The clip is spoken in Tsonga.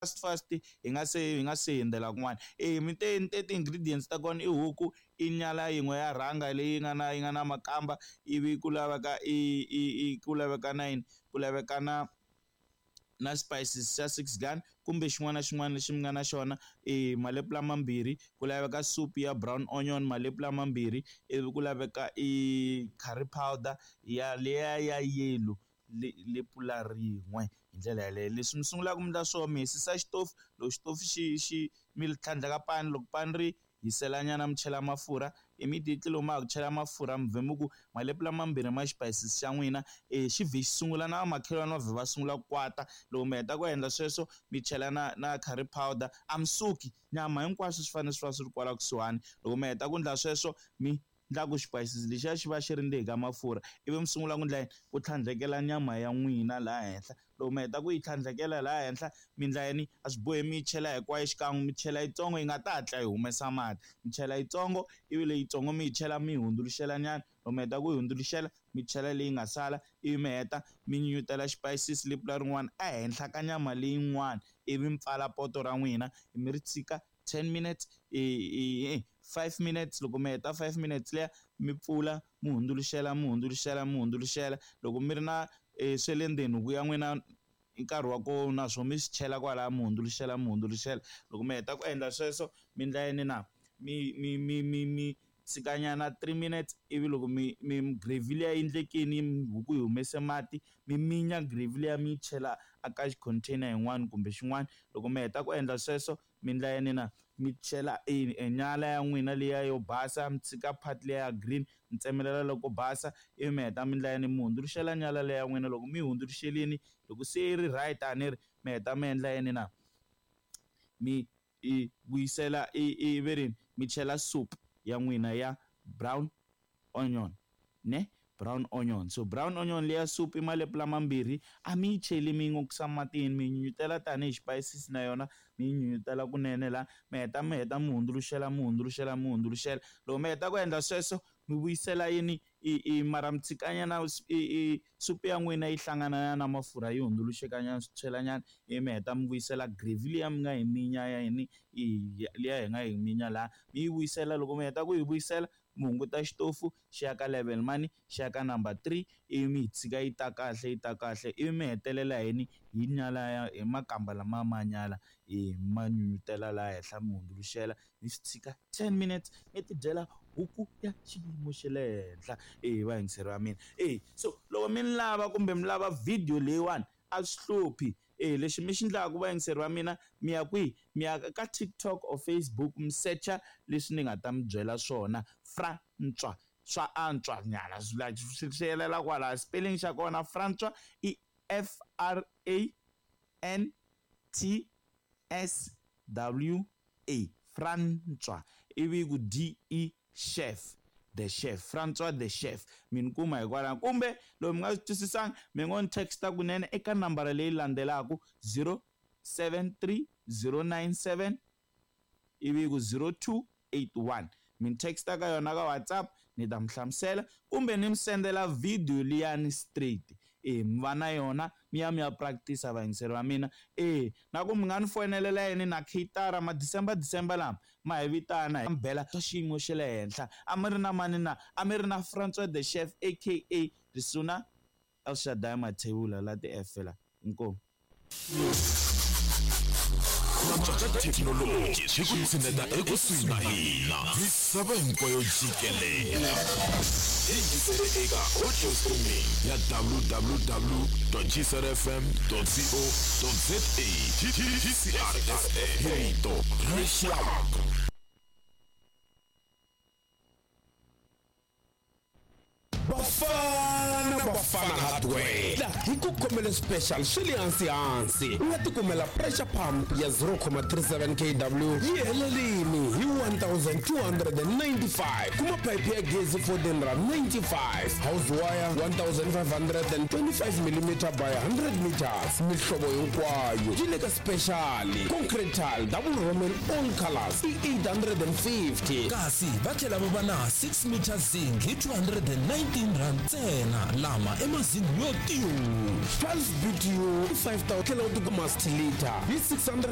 Fast hi nga se hundzela kun'wana. E mi te ni te ti-ingredients ta kona i huku, i nyala yin'we ya rhanga leyi nga na makamba, ivi ku laveka i ku laveka na yini, ku laveka na spices xa six gun kumbe xin'wana na xin'wana lexi mi nga na xona, i malepula mambirhi, ku laveka soup ya brown onion malepula mambirhi, ivi ku laveka i curry powder ya liya ya yellow lepula rin'we. Hi ndlela yaleyo, leswi mi sungulaka mi endla swona, mi hisisa xitofu. Loko xitofu xi mi tlhandleka pani, loko pani ri hisela nyana, mi chela mafurha immediately. Loko ma ha ku chela mafurha, mi vhe mi ku malepula mambirhi ma xipayisisi xa n'wina, xi vhe xi sungula na vamakhelwani va vhe va sungula ku kwata. Loko mi heta ku endla sweswo, mi chela na curry powder, a mi suki, nyama hinkwaswo swi fanele swi va swi ri kwala kusuhani. Loko mi heta ku endla sweswo, mi endla ku xipayisisi lexiya xi va xi ri ndzeni ka mafurha, ivi mi sungula ku endla yini? Ku tlhandlekela nyama ya n'wina laha henhla. Loko mi heta ku yi tlhandlekela laha henhla, mi endla yini? A swi bohi mi yi chela hinkwayo xikan'we, mi chela yitsongo yi nga ta hatla yi humesa mati. Mi chela yitsongo, ivi leyitsongo mi yi chela, mi yi hundzuluxela nyana. Loko mi heta ku yi hundzuluxela, mi chela leyi nga sala, ivi mi heta mi nyunyutela xipayisisi lepula rin'wana ehenhla ka nyama leyin'wana, ivi mi pfala poto ra n'wina, mi ri tshika 10 minutes, 5 minutes. Loko mi heta 5 minutes liya, mi pfula, mi hundzuluxela, mi hundzuluxela, mi hundzuluxela. Loko mi ri na swa le ndzeni huku ya n'wina, nkarhi wa kona naswona mi swi chela kwalaya, mi hundzuluxela, mi hundzuluxela. Loko mi heta ku endla sweswo, mi endla yini na? Mi tshikanyana 3 minutes, ivi loko mi gravy liya yi endlekini, huku yi humese mati, mi minya gravy liya, mi yi chela aka container yin'wana kumbe xin'wana. Loko mi heta ku endla sweswo, mi endla yini na? Mi chela e nyala ya n'wina liya yo basa, mi tshika part liya ya green, mi tsemelela loko basa, ivi mi heta mi endla yini? Mi hundzuluxela nyala leya ya n'wina. Loko mi yi hundzuluxelini, loko se yi ri right, a ni ri mi heta mi endla yini na? Mi i vuyisela i ve rini, mi chela soup ya n'wina ya brown onion, ne brown onion. So brown onion leya soup i malepula mambirhi, a mi yi cheli, mi yi n'okisa matini, mi nyunyutela tanihi xipayisisi na yona, mi yi nyunyutela kunene la. Mi heta mi hundzuluxela, mi hundzuluxela, mi hundzuluxela. Loko mi heta ku endla sweswo, mi vuyisela yini i mara mi tshikanyana i supu ya n'wina yi hlangana na mafurha, yi hundzuluxekanyana, swi tshwelanyana, ivi mi heta mi vuyisela gravy liya mi nga yi minya ya yini, liya hi nga yi minya laha, mi yi vuyisela. Loko mi heta ku yi vuyisela, mi hunguta xitofu xi ya ka level mani? Xi ya ka number 3, ivi mi yi tshika yi ta kahle, yi ta kahle, ivi mi hetelela yini? Hi nyala ya hi makamba lama ma nyala, i ma nyunyutela laha henhla, mi hundzuluxela, mi swi tshika 10 minutes, mi tidyela huku ya xiyimo xa le henhla. E vayingiseri va mina, e so loko mi ni lava kumbe mi lava video leyiwani, a swi hluphi. E lexi mi xi endlaka, vayingiseri va mina, mi ya kwihi? Mi ya ka TikTok or Facebook, mi secha leswi ni nga ta mi byela swona, Frantswa swa antswa nyana, like swi yelela kwala. Spelling xa kona Frantswa i Frantswa, Frantswa, ivi ku de chef, the chef, Francois the chef. Mi ni kuma hikwalaho, kumbe loko mi nga swi twisisanga, mi ngo ni texta kunene eka nambara leyi landzelaka: 073 097, ivi ku 0281. Mi ni texta ka yona ka WhatsApp, ni ta mi hlamusela kumbe ni mi sendela video liyani straight, e mi va na yona, mi ya practice. Vayingiseri va mina, e na ku mi nga ni fonelela yini na caterer ma December, December lama ma hi vitana, hi bela swa xiyimo xa le henhla. A mi ri na mani na? A mi ri na Francois the chef, aka Risuna El Shaddai Mathebula la ti-F la. Inkomu. Antswa ka thekinoloji swi ku tshineta ekusuhi na hina misava hinkwayo jikelele. Yingisele eka audio streaming ya www.gcrfm.co.za. GCRFM, rito ra rixaka. Bafana Bafana Hardware hi ku khomele special swi le hansi hansi. U nga tikumela pressure pump ya 0.37 kW yi helelini hi 1295. Kuma pipe ya gezi 1495, house wire 1525 mm by 100 meters, mihlovo hinkwayo yi le ka special. Concrete tile double roman, all colors, i 850. Kasi va tlhela va va na 6 meter zinc hi 219 rand ntsena, lama i mazingi yo tiyu. 12 BTU 5000, tlhela u tikuma liter hi 600.